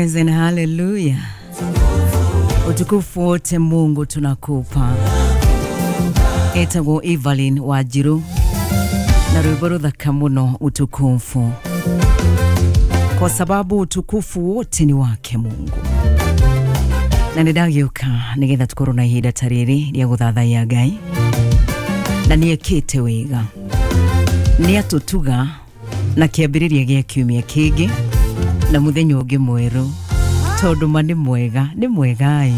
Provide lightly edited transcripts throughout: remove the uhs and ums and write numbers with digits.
Praise and hallelujah. Utukufu wote Mungu tunakupa. Etagwo Evelyn Wanjiru na rwimbo ruthaka muno, utukufu, kwa sababu utukufu wote ni wake Mungu. Na nĩ ndagĩũka nĩgetha tũkorwo na ihinda ta rĩrĩ rĩa gũthathaiya Ngai, na nĩ ekĩte wega, nĩ atũtuga na kĩambĩrĩria gĩa kiumia kĩngĩ na mũthenya ũngĩ mwerũ, tondũ ma nĩ mwega, nĩ mwega-ĩ.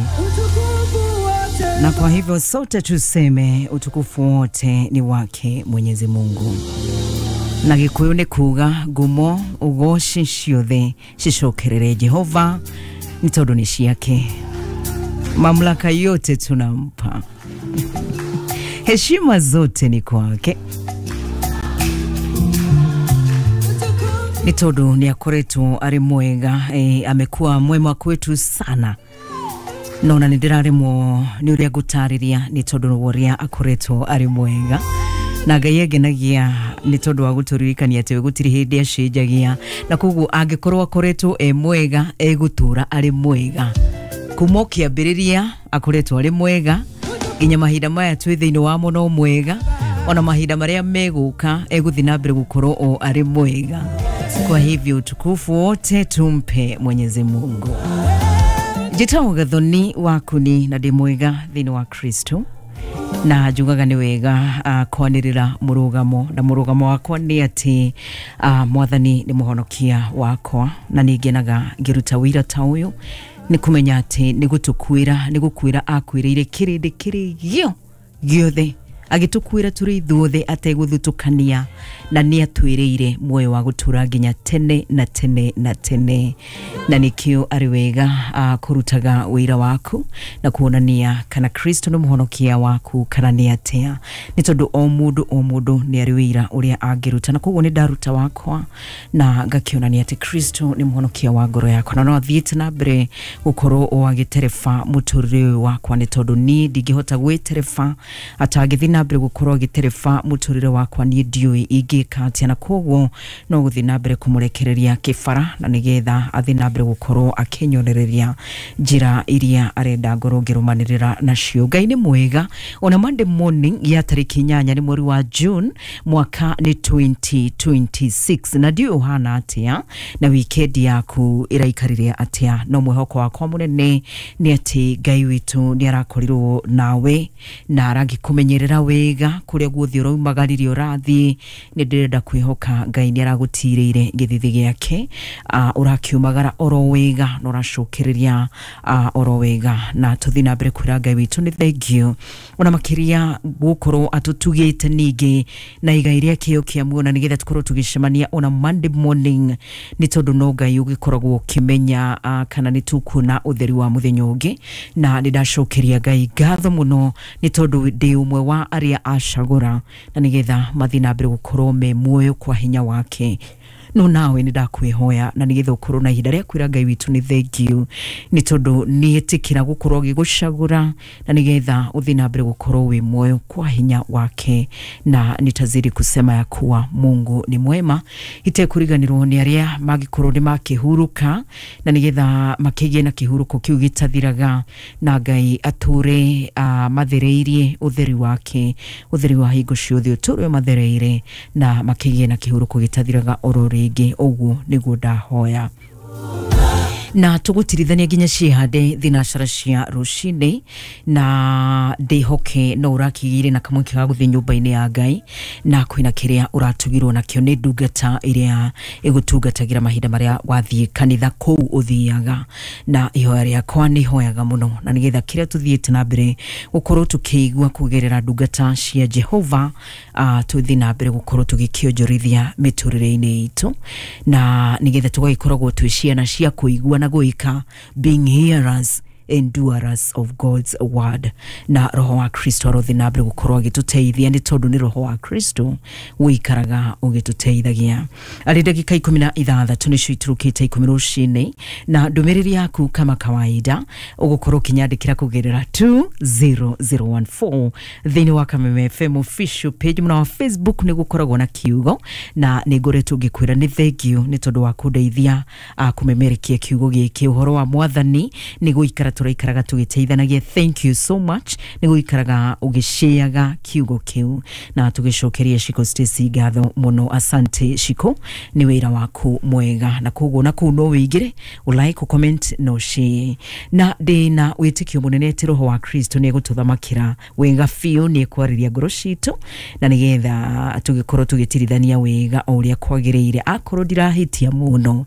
Na kwa hivyo sote tuseme utukufu wote ni wake Mwenyezi Mungu. Na Gĩkũyũ nĩ kuga ngumo ũgoci ciothe cicokerere Jehova, nĩ tondũ nĩ ciake. Mamlaka yote tunampa, heshima zote ni kwake, nĩ tondũ nĩ akoretwo arĩ mwega. Amekuwa mwema kwetu sana, no na nĩ ndĩraremwo nĩ ũrĩa ngũtarĩria, nĩ tondũ wa ũrĩa akoretwo arĩ mwega. Na Ngai angenagia nĩ tondũ wa gũtũririkania atĩ we gũtirĩ hĩndĩ acenjagia, na koguo angĩkorwo akoretwo e mwega, egũtũra arĩ mwega kuma o kĩambĩrĩria. Akoretwo arĩ mwega nginya mahinda maya twĩ thĩinĩ wamo no mwega, ona mahinda marĩa megũka egũthiĩ na mbere gũkorwo o arĩ mwega. Kwa hivyo utukufu wote tumpe Mwenyezi Mungu. Njĩtagwo Gathoni Wakuni na ndĩ mwega thĩinĩ wa Kristo, na njugaga nĩ wega kwanĩrĩra mũrũgamo, na mũrũgamo wakwa nĩ atĩ Mwathani nĩ mũhonokia wakwa, na nĩ ngenaga ngĩruta wĩira ta ũyũ, nĩ kũmenya atĩ nĩ gũtũkuĩra, nĩ gũkuĩra akuĩrĩire kĩrĩndĩ kĩrĩ gĩo gĩothe, agĩtũkuĩra tũrĩ ithuothe ategũthutũkania, na nĩ atwĩrĩire muoyo wa gũtũra nginya tene na tene na tene. Na nĩkĩo arĩ wega kũrutaga wĩra waku na kuonania kana Kristo nĩ mũhonokia waku kana nĩ atĩa, nĩ tondũ o mũndũ o mũndũ nĩ arĩ wĩra ũrĩa angĩruta. Na koguo nĩ ndaruta wakwa na ngakĩonania atĩ Kristo nĩ mũhonokia wa ngoro yakwa, na no athiĩte na mbere gũkorwo o agĩtereba mũtũrĩre ũyũ wakwa, nĩ tondũ niĩ ndingĩhota gwĩtereba. Atangĩthiĩ na mbere gũkorwo agĩtereba mũtũrĩre wakwa, niĩ ndiũĩ ingĩka atĩa. Na koguo no gũthiĩ na mbere kũmũrekereria kĩbara, na nĩgetha athiĩ na mbere gũkorwo akĩnyonereria njĩra iria arenda ngorwo ngĩrũmanĩrĩra nacio. Ngai nĩ mwega. Ona Monday morning ya tarĩki 8 nĩ mweri wa June, mwaka nĩ 2026, na ndiũĩ ũhana atĩa na weekend yaku ĩraikarire atĩa, no mwĩhoko wakwa mũnene nĩ atĩ Ngai witũ nĩ arakorirwo nawe na aragĩkũmenyerera wega kũrĩa guothe ũraumagaririe ũrathiĩ. Nĩ ndĩrenda kwĩhoka Ngai nĩ aragũtirĩire gĩthithi gĩake, ũrakiumagara oro wega na ũracokereria oro wega, na tũthiĩ na mbere kwĩra Ngai witũ nĩ thengiũ, ona makĩria gũkorwo atũtugĩte ningĩ na igai rĩa kĩo kĩa muoyo, na nĩgetha tũkorwo tũgĩcemania ona Monday morning, nĩ tondũ no Ngai ũgĩkoragwo ũkĩmenya kana nĩ tũkuona ũtheri wa mũthenya ũngĩ. Na nĩ ndacokeria Ngai ngatho mũno, nĩ tondũ ndĩ ũmwe wa arĩa acagũra na nĩgetha mathiĩ na mbere gũkorwo me muoyo kwa hinya wake. No nawe nĩ ndakwĩhoya, na nĩgetha ũkorwo na ihinda rĩa kwĩra Ngai witũ nĩ thengiũ, nĩ tondũ nĩ ĩtĩkĩra gũkorwo agĩgũcagũra na nĩgetha ũthiĩ na mbere gũkorwo wĩ muoyo kwa hinya wake. Na nitazidi kusema ya kuwa Mungu ni mwema, itekũriganĩrwo nĩ arĩa mangĩkorwo nĩ makĩhurũka, na nĩgetha makĩgĩe na kĩhurũko kĩu gĩtathiraga, na Ngai atũre mathereirie ũtheri wake, ũtheri wa hingo ciothe ũtũre mathereire, na makĩgĩe na kĩhurũko gĩtathiraga oro rĩngĩ. Ũguo nĩguo ndahoya, na tũgũtirithania nginya ciĩhande thinacara cia rũcinĩ, na ndĩhoke no ũrakĩgĩire na kamweke ga gũthiĩ nyũmba-inĩ ya Ngai, na kwĩna kĩrĩa ũratugirwo nakĩo nĩ ndungata ĩrĩa ĩgũtungatagĩra mahinda marĩa wathiĩ kanitha kũu ũthiaga. Na ihoya rĩakwa nĩ hoyaga mũno, na nĩgetha kĩrĩa tũthiĩte na mbere gũkorwo tũkĩigua kũgerera ndungata cia Jehova, tũthiĩ na mbere gũkorwo tũgĩkĩonjorithia mĩtũrĩre-inĩ itũ, na nĩgetha tũgagĩkoragwo twĩ ciana cia kũigua na gwĩka, being hearers. and doers of God's word. Na roho wa Kristo arothi na mbere gukorwo agituteithia ni tondu ni roho wa Kristo wikaraga ugituteithagia. Ari ndagika 16 nicio iturukite 10 rucini na ndumiriri yaku kama kawaida ugukorwo ukinyandikira kugerera 20014 thiini wa Kameme FM official page muna wa Facebook ni gukoragwo na kiugo na ni ngoretwo ngikwira ni thank you ni tondu wa kundeithia kumemerekia kiugo giki uhoro wa mwathani ni guikara turaikaraga tugiteithanagia. Thank you so much ni guikaraga ugisheaga kiugo kiu na tugicokeria Shiko Stacy ngatho muno. Asante Shiko ni wira waku mwega na koguo na kuu no wigire ulike comment no share na ndina witikio munene ati roho wa Kristo ni egututhamakira wega biũ ni ekwariria ngoro citu na nigetha tugikorwo tugitirithania wega o uria kwagiriire. Akorwo ndirahitia muno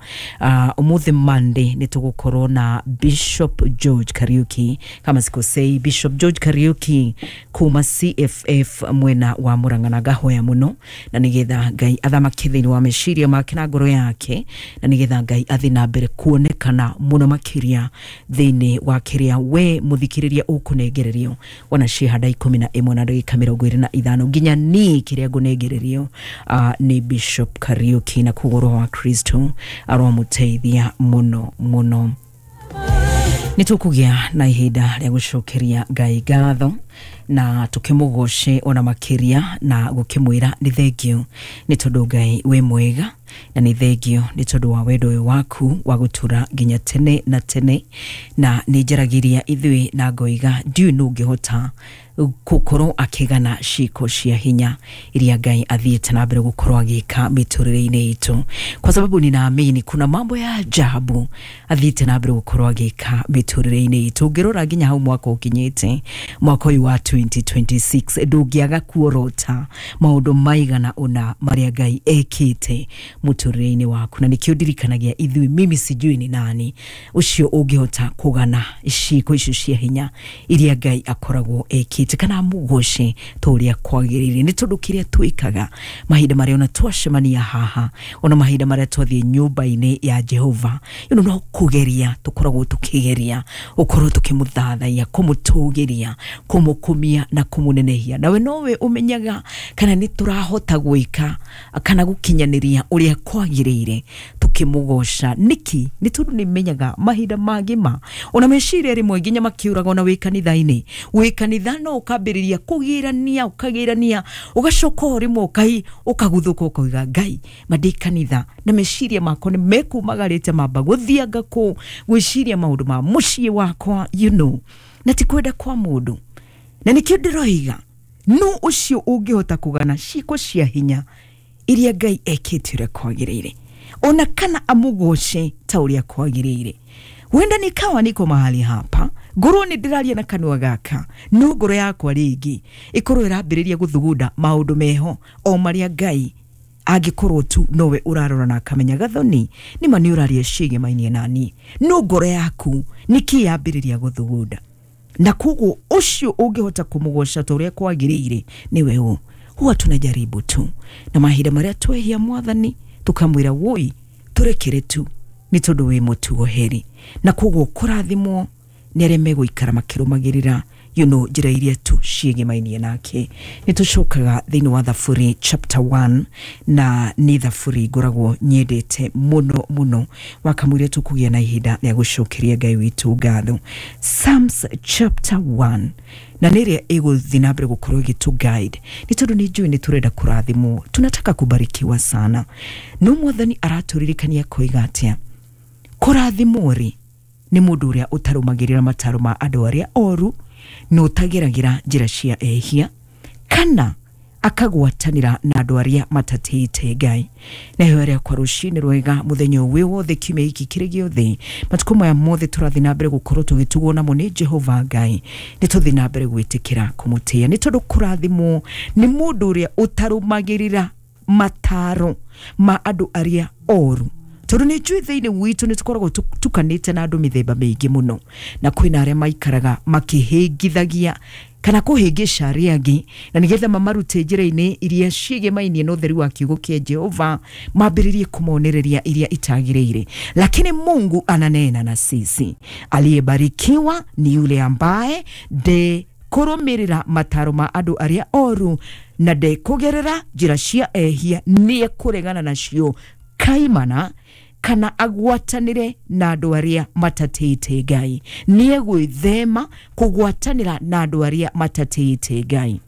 umuthi Monday ni tugukorwo na Bishop George Kariuki kama sikosei, Bishop George Kariuki kuma CFF mwena wa Murang'a na ngahoya muno na nigetha Ngai athamake thiini wa meciria make na ngoro yake na nigetha Ngai athi na mbere kuonekana muno makiria thiini wa kiria we muthikiriria ukunengererio wana cihanda 11 na ndagika 25 nginya ni kiria ngunengererio ni Bishop Kariuki na koguo roho wa Kristo aromuteithia muno muno. Nitukugia na ihinda ria gucokeria Ngai ngatho na tukimugoce ona makiria na gukimwira ni thengio ni tondu Ngai wi mwega na ni thengio ni tondu wa wendo uyu waku wa gutura nginya tene na tene na ni njaragiria ithui na ngoiga ndiu nungihota gukorwo akigana ciiko cia hinya iria Ngai athiite na mbere gukorwo agika miturire-ini itu, kwa sababu ninaamini kuna mambo ya ajabu athiite na mbere gukorwo agika miturire-ini itu. Ngirora nginya hau mwaka ukinyite mwaka uyu wa 2026 ndungiaga kuorota maundu maigana una maria Ngai ekite muturire-ini waku na nikio ndirikanagia ithui mimi sijui ni nani ucio ungihota kugana ciiko icio cia hinya iria Ngai akoragwo ekite kana mugoce turia kwagirire ni tondu kiria twikaga mahinda maria ona twacemania haha ona mahinda maria twathie nyumba-ini ya Jehova you know, no kugeria tukoragwo tukigeria ukorwo tukimuthathaia kumutugiria kumukumia na kumunenehia nawe nowe umenyaga kana ni turahota gwika kana gukinyaniria uria kwagirire tukimugoca niki ni tondu ni menyaga mahinda mangima ona meciria rimwe nginya makiuraga ona wi kanitha-ini wi kanitha no ukambiriria kugirania ukagirania ugacoka o rimwe ukai ukaguthuka ukauga Ngai mandi kanitha na meciria makwa ni mekumagarite mamba guthianga ku gwiciria maundu ma mucii wakwa you know, na ti kwenda kwa mundu na nikio ndiroiga no ucio ungihota kugana ciiko cia hinya iria Ngai ekite uria kwagiriire ona kana amugoce ta uria kwagiriire. Wenda nikawa niko mahali hapa ngorwo ni ndiraria na kanua gaka no ngoro yakwa ringi ikorwo irambiriria guthugunda maundu meho o maria Ngai angikorwo tu nowe urarora na akamenya gathoni ni ma ni uraria cigemainie nani no ngoro yaku niki yambiriria guthugunda na koguo ucio ungihota kumugoca ta uria kwagiriire niwe u. Huwa tunajaribu tu na mahinda maria twehia mwathani tukamwira woi turekere tu ni tondu wi mutugo heri na koguo kurathimwo ni aria meguikara makirumagirira you know, njira iria tu ciĩgemainie nake. Nĩ tũcokaga thĩinĩ wa Thaburi chapter 1 na nĩ thaburi ngoragwo nyendete mũno mũno wakamwĩra tũkũgĩa na ihinda rĩa gũcokeria Ngai witũ ngatho. Psalms chapter 1 na nĩ ĩrĩa ĩgũthiĩ na mbere gũkorwo ĩgĩtũ guide nĩ tondũ nĩ njũĩ nĩ tũrenda kũrathimwo, tunataka kubarikiwa sana, no mwathani aratũririkania koiga atĩa kũrathimwo rĩ nĩ mũndũ ũrĩa ũtarũmagĩrĩra mataro ma andũ arĩa oru na ũtageragira njĩra cia ehia kana akagwatanĩra na andũ arĩa matatĩĩte Ngai. Na ihoya rĩakwa rũcinĩ rwega mũthenya ũyũ wothe kiumia gĩkĩ kĩrĩ gĩothe matukũ maya mothe tũrathiĩ na mbere gũkorwo tũgĩtugwo namo nĩ Jehova Ngai nĩ tũthiĩ na mbere gwĩtĩkĩra kũmũtĩĩa nĩ tondũ kũrathimwo nĩ mũndũ ũrĩa ũtarũmagĩrĩra mataro ma andũ arĩa oru tondu nĩ njũĩ thĩinĩ witũ nĩ tũkoragwo tukanĩte na andũ mĩthemba mĩingĩ mũno na kwĩna arĩa maikaraga makĩhĩngithagia kana kũhĩngĩca arĩa angĩ na nĩgetha mamarute njĩra-inĩ iria ciĩgemainie na ũtheru wa kiugo kĩa Jehova, mambĩrĩrie kũmonereria iria itagĩrĩire. Lakini Mungu ananena na sisi, aliyebarikiwa ni yule ambaye de kũrũmĩrĩra mataro ma andũ arĩa oru na ndekũgerera njĩra cia ehia, nĩekũregana nacio kaimana kana agwatanĩre na andũ arĩa matatĩĩte Ngai. Nĩegwĩthema kũgwatanĩra na andũ arĩa matatĩĩte Ngai.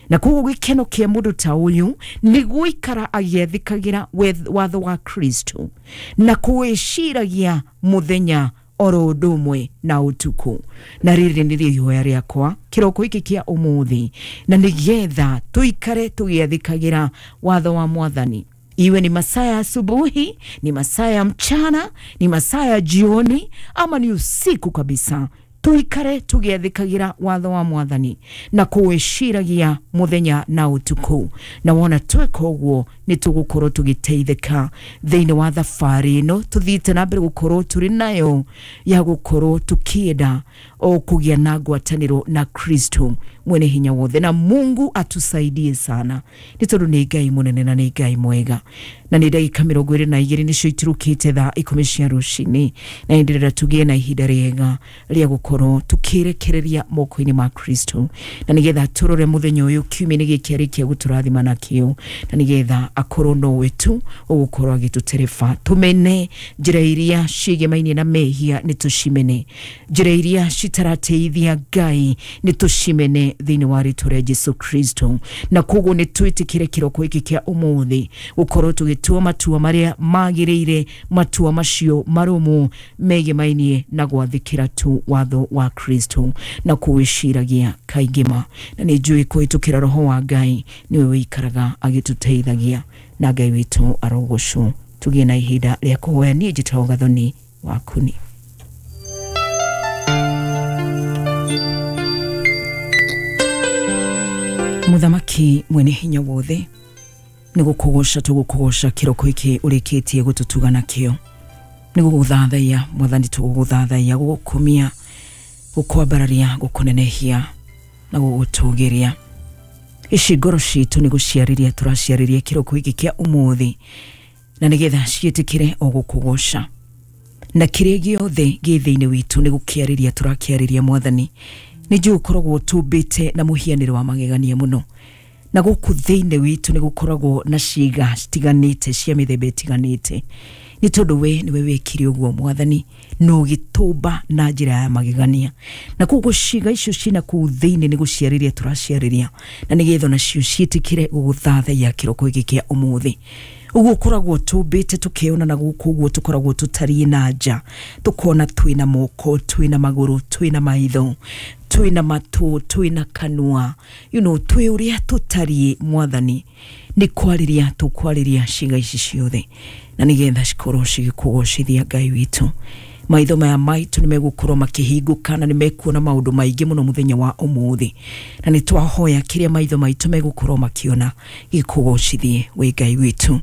Na koguo gĩkeno kĩa mũndũ ta ũyũ nĩ gũikara agĩathĩkagĩra watho wa Kristo na kũwĩciragia mũthenya oro ũndũ ũmwe na ũtukũ. Na rĩrĩ nĩrĩo ihoya rĩakwa kĩroko gĩkĩ kĩa ũmũthĩ, na nĩgetha tũikare tũgĩathĩkagĩra watho wa Mwathani. Iwe ni masaa ya asubuhi, ni masaa ya mchana, ni masaa ya jioni, ama ni usiku kabisa, tuikare tugiathikagira watho wa Mwathani na kũwĩciragia mũthenya na ũtukũ. Na wona tweka ũguo nĩ tũgũkorwo tũgĩteithĩka thĩinĩ wa thabarĩ ĩno tũthiĩte na mbere gũkorwo tũrĩ nayo ya gũkorwo tũkĩenda o kũgĩa na ngwatanĩro na Kristo mwene hinya wothe. Na Mungu atusaidie sana, nĩ tondũ nĩ Ngai mũnene na nĩ Ngai mwega. Na nĩ ndagĩka 22 nĩcio itirũkĩte thaa 10 cia rũcinĩ, na ndĩrenda tũgĩe na ihinda rĩega rĩa gũkorwo tũkĩrekereria moko-inĩ ma Kristo, na nĩgetha tũrore mũthenya ũyũ kiumia-inĩ gĩkĩ arĩkia gũtũrathima nakĩo, na nĩgetha akorwo nowe tu ũgũkorwo agĩtũtereba. Tũmene njĩra iria ciĩgemainie na mehia nĩ tũcimene, njĩra iria citarateithia Ngai nĩ tũcimene thĩinĩ wa rĩtwa rĩa Jesu Kristo. Na koguo nĩ twĩtĩkĩre kĩroko gĩkĩ kĩa ũmũthĩ gũkorwo tũgĩtua matua marĩa magĩrĩire, matua macio marũmu megemainie na gwathĩkĩra tu watho wa Kristo na kũwĩciragia kaingĩ ma. Na nĩ njũĩ kũhĩtũkĩra Roho wa Ngai nĩwe wĩikaraga agĩtũteithagia, na Ngai witũ arogocwo. Tũgĩe na ihinda rĩa kũhoya. Niĩ njĩtagwo Gathoni Wakuni. Mũthamaki mwene hinya wothe, nĩ gũkũgoca tũgũkũgoca kĩroko gĩkĩ ũrĩkĩtie gũtũtuga nakĩo. Nĩ gũgũthathaiya Mwathani, tũgũgũthathaiya, gũgũkumia, gũkwambararia, gũkũnenehia na gũgũtũgĩria. Ici ngoro citũ nĩ gũciarĩria tũraciarĩria kĩroko gĩkĩ kĩa ũmũthĩ, na nĩgetha ciĩtĩkĩre o gũkũgoca. Na kĩrĩa gĩothe gĩ thĩinĩ witũ nĩ gũkĩarĩria tũrakĩarĩria Mwathani. Nĩ njũĩ ũkoragwo tũmbĩte na mũhianĩre wa magegania mũno, na gũkũ thĩinĩ witũ nĩ gũkoragwo na ciĩga citiganĩte cia mĩthemba ĩtiganĩte, nĩ tondũ we nĩwe wekire ũguo Mwathani, na ũgĩtũmba na njĩra ya magegania. Na koguo ciĩga icio ciĩna kũu thĩinĩ nĩ gũciarĩria tũraciarĩria, na nĩgetha onacio ciĩtĩkĩre gũgũthathaiya kĩroko gĩkĩ kĩa ũmũthĩ. Ũguo ũkoragwo tũmbĩte tũkĩona, na gũkũ ũguo tũkoragwo tũtariĩ na nja, tũkona twĩna moko, twĩna magũrũ, twĩna maitho, twĩna matũ, twĩna kanua, twĩ ũrĩa tũtariĩ Mwathani. Nĩ kwarĩria tũkwarĩria ciĩga ici ciothe, na nĩgetha cikorwo cigĩkũgocithia Ngai witũ. Maitho maya maitũ nĩ megũkorwo makĩhingũka na nĩ mekuona maũndũ maingĩ mũno mũthenya wa ũmũthĩ, na nĩ twahoya kĩrĩa maitho maitũ megũkorwo makĩona gĩkũgocithie wĩ Ngai witũ.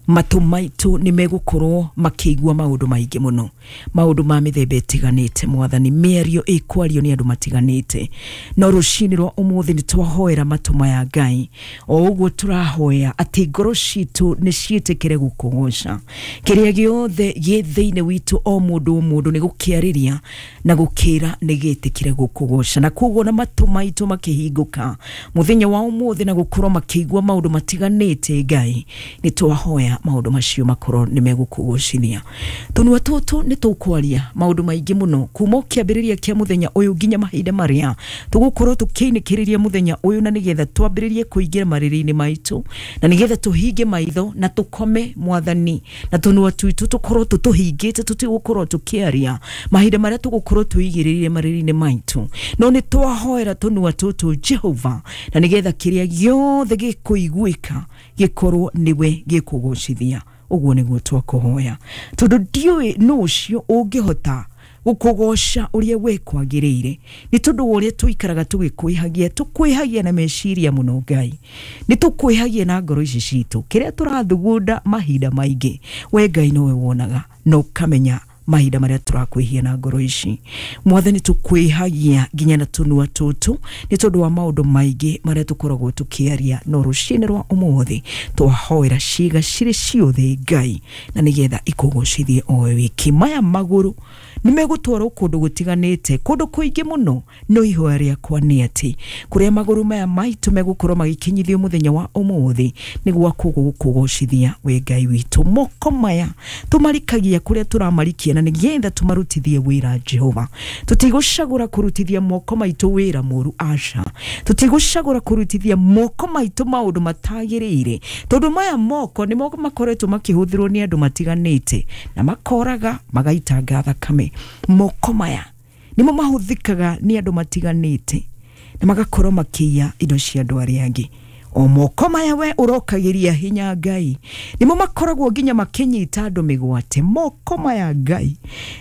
Matũ maitũ nĩ megũkorwo makĩigua maũndũ maingĩ mũno, maũndũ ma mĩthemba ĩtiganĩte Mwathani, mĩario ĩkwario nĩ andũ matiganĩte. No rũcinĩ rwa ũmũthĩ nĩ twahoera matũ maya Ngai, o ũguo tũrahoya atĩ ngoro citũ nĩ ciĩtĩkĩre gũkũgoca. Kĩrĩa gĩothe gĩ thĩinĩ witũ o mũndũ o mũndũ nĩ gũkĩarĩria na gũkĩra nĩ gĩtĩkĩre gũkũgoca. Na koguo na matũ maitũ makĩhingũka mũthenya wa ũmũthĩ na gũkorwo makĩigua maũndũ matiganĩte Ngai, nĩ twahoya maũndũ macio makorwo nĩ megũkũgocithia. Tũnua tũtũ nĩ tũkwaria maũndũ maingĩ mũno kuma kĩambĩrĩria kĩa mũthenya ũyũ nginya mahinda marĩa tũgũkorwo tũkĩinĩkĩrĩria mũthenya ũyũ, na nĩgetha twambĩrĩrie kũingĩra marĩrĩ-inĩ maitũ, na nĩgetha tũhinge maitho na tũkome Mwathani, na tũnua twitũ tũkorwo tũtũhingĩte, tũtigũkorwo tũkĩaria mahinda marĩa tũgũkorwo tũigĩrĩire marĩrĩ-inĩ maitũ. No nĩ twahoera tũnua tũtũ Jehova, na nĩgetha kĩrĩa gĩothe gĩkũiguĩka gĩkorwo nĩwe gĩkũgocithia. Ũguo nĩguo twakũhoya, tondũ ndiũĩ nũ ũcio ũngĩhota gũkũgoca ũrĩa we kwagĩrĩire, nĩ tondũ wa ũrĩa tũikaraga tũgĩkwĩhagia, tũkwĩhagia na meciria mũno Ngai, nĩ tũkwĩhagia na ngoro ici citũ, kĩrĩa tũrathugunda mahinda maingĩ we Ngai nowe wonaga na ũkamenya Mahinda maria turakwihia na ngoro ici Mwathani, tukwihagia nginya na tunua tutu ni tondu wa maundu maingi maria tukoragwo tukiaria. No rucini rwa umuthi twahoera ciga ciri ciothe Ngai, na nigetha ikugocithie o wiki. Maya maguru nimegutwarwo kundu gutiganite, kundu kuingi muno, no ihoya riakwa ni ati kuria maguru maya maitu megukorwo magikinyithio muthenya wa umuthi niguo kugugocithia we Ngai witu. Moko maya tumarikagia kuria turamarikia na nigetha tumarutithie wira Jehova. Tutigucagura kurutithia moko maitu wira muru, aca. Tutigucagura kurutithia moko maitu maundu matagiriire, tondu maya moko ni moko makoretwo makihuthirwo ni andu matiganite na makoraga magaitanga thakame. Moko maya nimo mahuthikaga ni andu matiganite na magakorwo makiiya indo cia andu aria angi. O moko maya we urokagiria hinya Ngai nimo makoragwo nginya makinyita andu migwate. Moko maya Ngai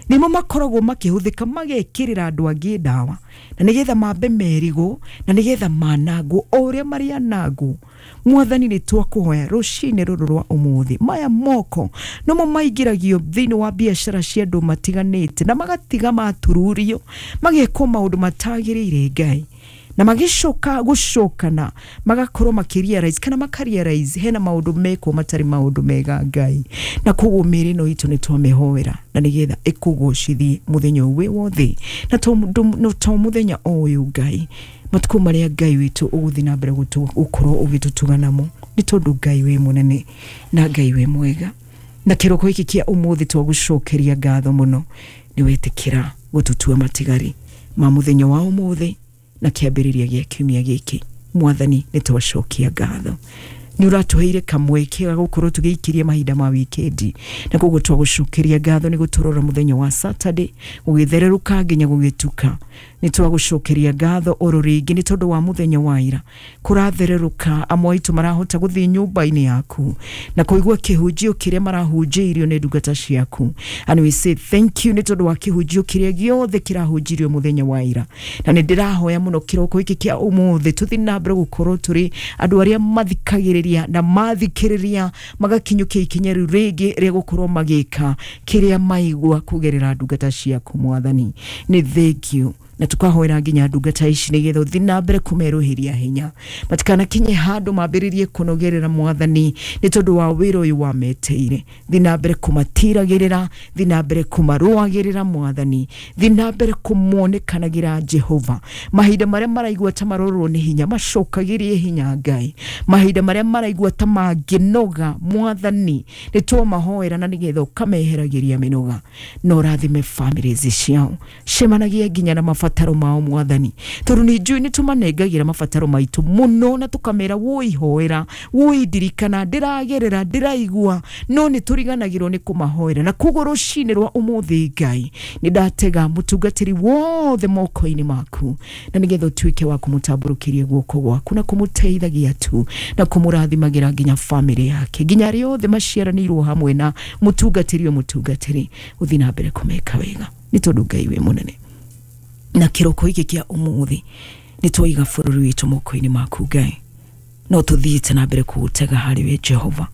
nimo makoragwo makihuthika magekirira andu angi ndawa na nigetha mambe merigwo na nigetha manangwo o uria marianangwo. Mwathani ni twakuhoya rucini ruru rwa umuthi, maya moko nomo maingiragio thiini wa biacara cia andu matiganite na magatiga matururio magekwo maundu matagiriire Ngai, na magicoka gucokana magakorwo makirealize kana makarealize hena maundu mekwo matari maundu mega Ngai. Na koguo mĩĩrĩ ĩno itũ nĩ twamehoera na nigetha ĩkũgocithie muthenya ũyũ wothe, na to muthenya ũyũ Ngai, matuko maria Ngai witũ ũgũthiĩ na mbere gũkorwo ũgĩtũtuga namo, nĩ tondũ Ngai wĩ mũnene na Ngai wĩ mwega. Na kĩroko gĩkĩ kĩa ũmũthĩ twagũcokeria ngatho mũno nĩ wetĩkĩra gũtũtua matigari ma mũthenya wa ũmũthĩ na kĩambĩrĩria gĩa kiumia gĩkĩ. Mwathani nĩ twacokia ngatho, nĩ ũratũheire kamweke ga gũkorwo tũgĩikiria mahinda ma wikendi, na koguo twagũcokeria ngatho nĩ gũtũrora mũthenya wa Saturday gũgĩthererũka nginya gũgĩtuka. Nĩ twagũcokeria ngatho oro rĩngĩ nĩ tondũ wa mũthenya wa ira kũrathererũka, amwe aitũ marahota gũthiĩ nyũmba-inĩ yaku na kũigua kĩhunjio kĩrĩa marahunjĩirio nĩ ndungata ciaku. And we say thank you nĩ tondũ wa kĩhunjio kĩrĩa gĩothe kĩrahunjirio mũthenya wa ira. Na nĩ ndĩrahoya mũno kĩroko gĩkĩ kĩa ũmũthĩ tũthiĩ na mbere gũkorwo tũrĩ andũ arĩa mathikagĩrĩria na mathikĩrĩria magakinyũkia ikinya rĩu rĩngĩ rĩa gũkorwo magĩka kĩrĩa maigua kũgerera ndungata ciaku Mwathani. Nĩ thank you, na tukahoera nginya ndungata ici nigetha uthi na mbere kumeruhiria hinya matikanakinye handu mambiririe kunogerera Mwathani ni tondu wa wira uyu wameteire. Thi na mbere kumatiragirira, thi na mbere kumaruagirira Mwathani, thi na mbere kumonekanagira Jehova. Mahinda maria maraigua ta marorwo ni hinya macokagirie hinya Ngai, mahinda maria maraigua ta manginoga Mwathani ni twamahoera na nigetha ukameheragiria minoga. No rathime families ciao, cemanagia nginya na mabataro mao Mwathani, tondu ni njui ni tumanengagira mabataro maitu muno na tukamera woi hoera woi ndirikana ndiragerera ndiraigua, no ni turiganagirwo ni kumahoera. Na koguo rucini rwa umuthi Ngai ni ndatega mutungatiri wothe moko-ini maku na nigetha utuike wa kumutamburukiria guoko gwaku na kumuteithagia tu na kumurathimagira nginya family yake nginya aria othe maciaranirwo hamwe na mutungatiri o mutungatiri, uthi na mbere kumeka wega ni tondu Ngai wi munene. Na kiroko giki kia umuthi ni twaiga bururi witu moko-ini maku Ngai, no tuthiite na mbere kuutega hari we Jehova,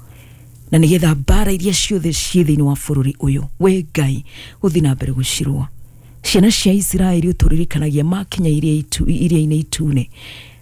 na nigetha mbara iria ciothe ciĩ thĩinĩ wa bururi uyu we Ngai uthi na mbere gucirũa. Ciana cia Isiraeli uturirikanagia makinya iria-inĩ itune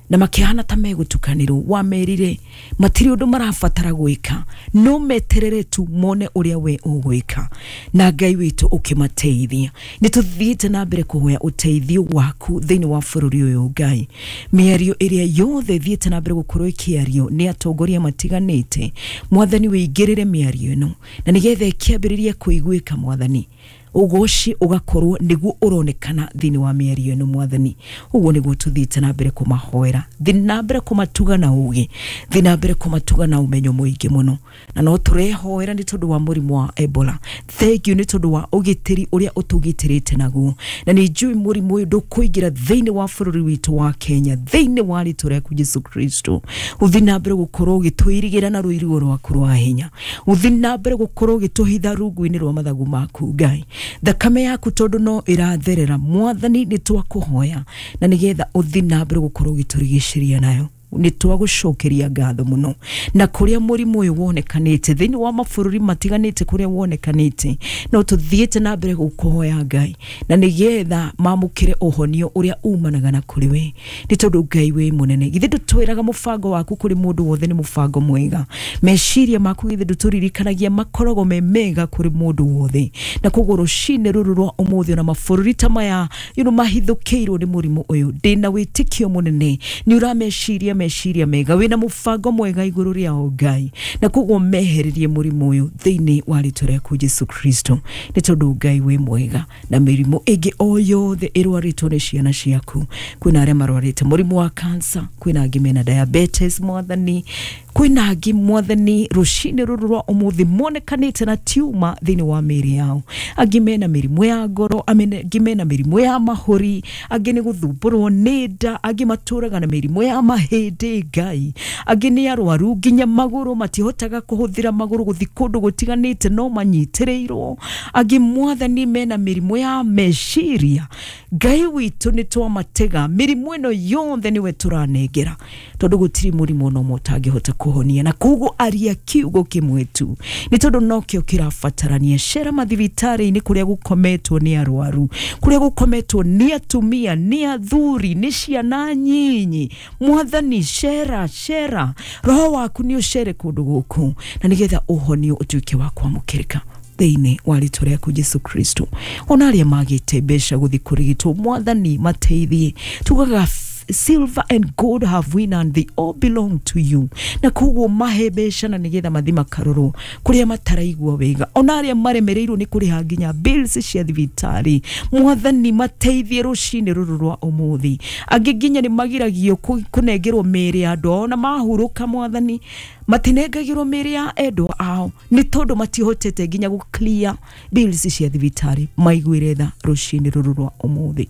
na makihana ta megutukanirwo, wamerire matiri undu marabatara gwika no meterere tu mone uria we ugwika, na Ngai witu ukimateithia. Ni tuthiite na mbere kuhoya uteithio waku thiini wa bururi uyu Ngai. Miario iria yothe thiite na mbere gukorwo ikiario ni atongoria matiganite Mwathani wĩingĩrĩre miario ĩno na nigetha ĩkĩambĩrĩrie kũiguĩka Mwathani, ugoci ugakorwo niguo uronekana thiini wa mĩario ĩno Mwathani. Uguo niguo tuthiite na mbere kumahoera, thi na mbere kumatuga na ugi, thi na mbere kumatuga na umenyo muingi muno, na no turehoera ni tondu wa murimu wa Ebola. Thank you ni tondu wa ugitiri uria utugitirite naguo, na ni njui murimu uyu ndukuingira thiini wa bururi witu wa Kenya thiini wa ritwa riaku Jesu Kristo. Uthi na mbere gukorwo ugitwirigira na ruirigo rwaku rwa hinya, uthi na mbere gukorwo ugituhitha rungu-ini rwa mathagu maku Ngai. Thakame yaku tondu no iratherera Mwathani ni twakuhoya na nigetha uthi na mbere gukorwo ugiturigiceria nayo. Nĩ twagũcokeria ngatho mũno. Na kũrĩa mũrimũ ũyũ wonekanĩte thĩinĩ wa mabũrũri matiganĩte, kũrĩa wonekanĩte, no tũthiĩte na mbere gũkũhoya Ngai, na nĩgetha mamũkĩre ũhonio ũrĩa umanaga na kũrĩ we, nĩ tondũ Ngai wĩ mũnene. Githĩ ndũtwĩraga mũbango waku kũrĩ mũndũ wothe nĩ mũbango mwega? Meciria maku githĩ ndũtũririkanagia makoragwo me mega kũrĩ mũndũ wothe? Na koguo rũcinĩ rũrũ rwa ũmũthĩ, ona mabũrũri ta maya mahithũkĩirwo nĩ mũrimũ ũyũ, ndĩna wĩtĩkio mũnene nĩ ũrameciria meciria mega, wĩna mũbango mwega igũrũ rĩao Ngai, na koguo mehererie mũrimũ ũyũ thĩinĩ wa rĩtwa rĩaku Jesu Kristo, nĩ tondũ Ngai wĩ mwega. Na mĩrimũ ĩngĩ o yothe ĩrwarĩtwo nĩ ciana ciaku, kwĩna arĩa marwarĩte mũrimũ wa cancer, kwĩna angĩ mena diabetes Mwathani, kwĩna angĩ Mwathani rũcinĩ rũrũ rwa ũmũthĩ monekanĩte na tiuma thĩinĩ wa mĩĩrĩ yao, angĩ mena mĩrimũ ya ngoro, angĩ mena mĩrimũ ya mahũri, angĩ nĩ gũthumbũrwo nĩ nda, angĩ matũraga na mĩrimũ ya mahĩndĩ Ngai, angĩ nĩ arwaru nginya magũrũ matihotaga kũhũthĩra magũrũ gũthiĩ kũndũ gũtiganĩte no manyitĩrĩirwo, angĩ Mwathani mena mĩrimũ ya meciria. Ngai witũ, nĩ twamatega mĩrimũ ĩno yothe nĩwe tũranengera, tondũ gũtirĩ mũrimũ ona ũmwe ũtangĩhota kũhonia, na koguo aria kiugo kĩmwe tu, nĩ tondũ nokĩo kĩrabatarania. Cera mathibitarĩ-inĩ kũrĩa gũkometwo nĩ arwaru, kũrĩa gũkometwo nĩ atumia, nĩ athuri, nĩ ciana nyinyi Mwathani, cera cera, roho waku nĩ ũcere kũndũ gũkũ, na nĩgetha ũhonio ũtuĩke wa kwamũkĩrĩka thĩinĩ wa rĩtwa rĩaku Jesu Kristo. Ona arĩa magĩte mbeca gũthiĩ kũrigitwo, Mwathani, mateithie. Tugaga silver and gold have we none, they all belong to you, na koguo mahe mbeca na nĩgetha mathi makarorwo kũrĩa mataraigua wega. Ona arĩa maremereirwo nĩ kũrĩha nginya bills cia thibitarĩ, Mwathani, mateithie rũcinĩ rũrũ rwa ũmũthĩ. Angĩ nginya nĩ magiragio kũnengerwo mĩĩrĩ ya andũ ao, na mahurũka Mwathani matinengagĩrwo mĩĩrĩ ya endwa ao, nĩ tondũ matihotete nginya gũ clear bills cia thibitarĩ. Maiguĩre tha rũcinĩ rũrũ rwa ũmũthĩ.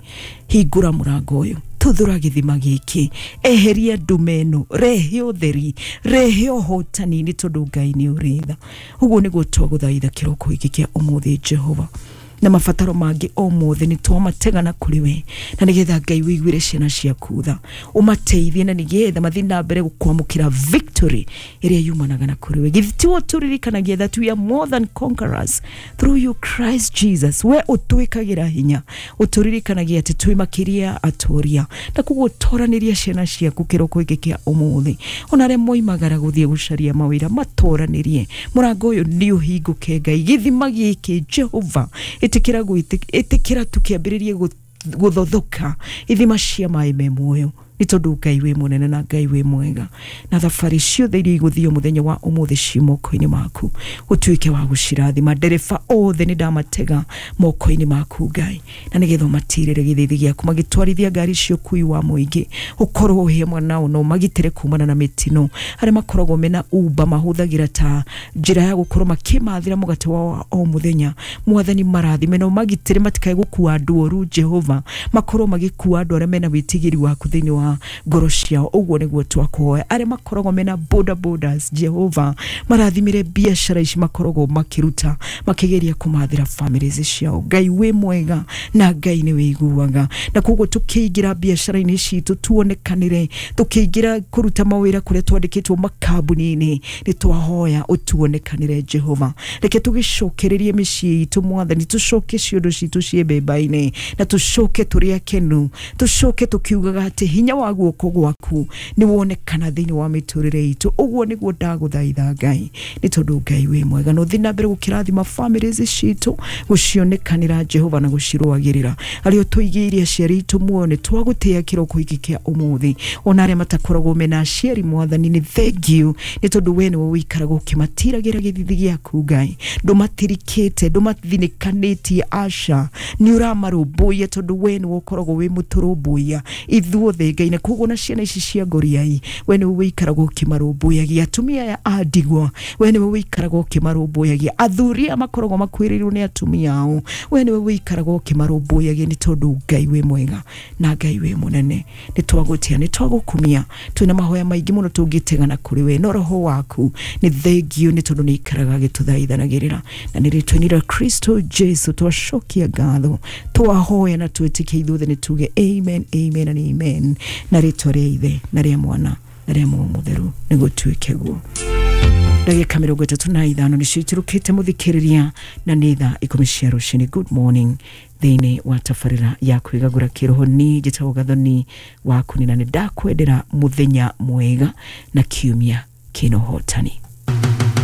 Hingũra mũrango ũyũ, tuthura gĩthima gĩkĩ, eheria ndume ĩno, rehe ũtheri, rehe ũhotani, nĩ tondũ Ngai nĩ ũrĩ tha. Ũguo nĩguo twagũthaitha kĩroko gĩkĩ kĩa ũmũthĩ, Jehova, na mabataro mangĩ o mothe nĩ twamatega na kũrĩ we, na nĩgetha Ngai wĩiguĩre ciana ciaku tha, ũmateithie, na nĩgetha mathiĩ na mbere gũkwamũkĩra victory ĩrĩa yumanaga na kũrĩ we. Githĩ tiwe tũririkanagia that we are more than conquerors through you Christ Jesus? We ũtwĩkagĩra hinya, ũtũririkanagia atĩ twĩ makĩria atoria, na koguo toranĩria ciana ciaku kĩroko gĩkĩ kĩa ũmũthĩ. Ona arĩa moimagara gũthiĩ gũcaria mawĩra, matoranĩrie, mũrango ũyũ nĩ ũhingũke Ngai. Gĩthima gĩkĩ Jehova, ĩtĩkĩra ĩtĩkĩra tũkĩambĩrĩrie gũthothoka ithima cia maĩ me muoyo, nĩ tondũ Ngai wĩ mũnene na Ngai wĩ mwega. Na thabarĩ ciothe iria igũthio mũthenya wa ũmũthĩ ci moko-inĩ maku, ũtuĩke wa gũcirathima. Ndereba othe nĩ ndamatega moko-inĩ maku Ngai, na nĩgetha ũmatirĩre gĩthĩthĩ gĩaku magĩtwarithia ngari cia ũkui wa mũingĩ, ũkorwo ũhĩ mwana na ũmagitĩre kumana na mĩtino. Arĩa makoragwo mena Uber, mahũthagĩra ta njĩra ya gũkorwo makĩmathĩra mũgate wao wa o mũthenya, Mwathani, marathime na ũmagitĩre matikae gũkua andũ oru. Jehova, makorwo magĩkua andũ arĩa mena wĩtigĩri waku thĩinĩ wa ngoro ciao. Ũguo nĩguo twakũhoya. Arĩa makoragwo mena boda bodas, Jehova, marathimire biacara ici makoragwo makĩruta makĩgeria kũmathĩra families ciao. Ngai wĩ mwega na Ngai nĩ wĩiguaga, na koguo tũkĩingĩra biacara-inĩ citũ tuonekanĩre, tũkĩingĩra kũruta mawĩra kũrĩa twandĩkĩtwo makambuni-inĩ, nĩ twahoya ũtuonekanĩre Jehova. Reke tũgĩcokererie mĩciĩ itũ Mwathani, tũcoke ciondo citũ ciĩ mbemba-inĩ, na tũcoke tũrĩ akenu, tũcoke tũkiugaga atĩ hinya wa guoko gwaku nĩ wonekana thĩinĩ wa mĩtũrĩre itũ. Ũguo nĩguo ndagũthaitha Ngai, nĩ tondũ Ngai wĩ mwega, na ũthiĩ na mbere gũkĩrathima families citũ, gũcionekanĩra Jehova na gũcirũagĩrĩra. Arĩa ũtũigĩire aciari aitũ muoyo, nĩ twagũtĩĩa kĩroko gĩkĩ kĩa ũmũthĩ. Ona arĩa matakoragwo mena aciari, Mwathani, nĩ thank you, nĩ tondũ we nĩwe ũikaraga ũkĩmatiragĩra gĩthithi gĩaku Ngai. Ndũmatirikĩte, ndũmathinĩkanĩtie, aca, nĩ ũramarũmbũiya, tondũ we nĩwe ũkoragwo wĩ mũtũrũmbũiya ithuothe Ngai. Na koguo na ciana ici cia ngoriai, we nĩwe ũikaraga ũkĩmarũmbũyagia. Atumia aya a ndigwa, we nĩwe ũikaraga ũkĩmarũmbũyagia. Athuri aya makoragwo makuĩrĩirwo nĩ atumia ao, we nĩwe ũikaraga ũkĩmarũmbũyagia, nĩ tondũ Ngai wĩ mwega na Ngai wĩ mũnene. Nĩ twagũtĩa, nĩ twagũkumia. Twĩna mahoya maingĩ mũno tũngĩtegana kũrĩ we, no roho waku nĩ thengio, nĩ tondũ nĩ ikaraga agĩtũthaithanagĩrĩra, na nĩ rĩtwa-inĩ rĩa Kristo Jesu twacokia ngatho, twahoya na twĩtĩkia ithuothe, nĩ tuge amen, amen and amen, na rĩtwa rĩa Ithe na rĩa Mwana Na rĩa Muoyo Mũtheru, nĩgũtuĩke guo. Ndagĩka 35 nĩcio iturũkĩte, mũthikĩrĩria, na nĩ thaa 10 cia rũcinĩ. Good morning thĩinĩ wa tabarĩra ya kwĩgagũra kĩroho. Ni njĩtagwo Gathoni wa Kunina, nĩ ndakwendera mũthenya mwega na kiumia kĩna ũhotani.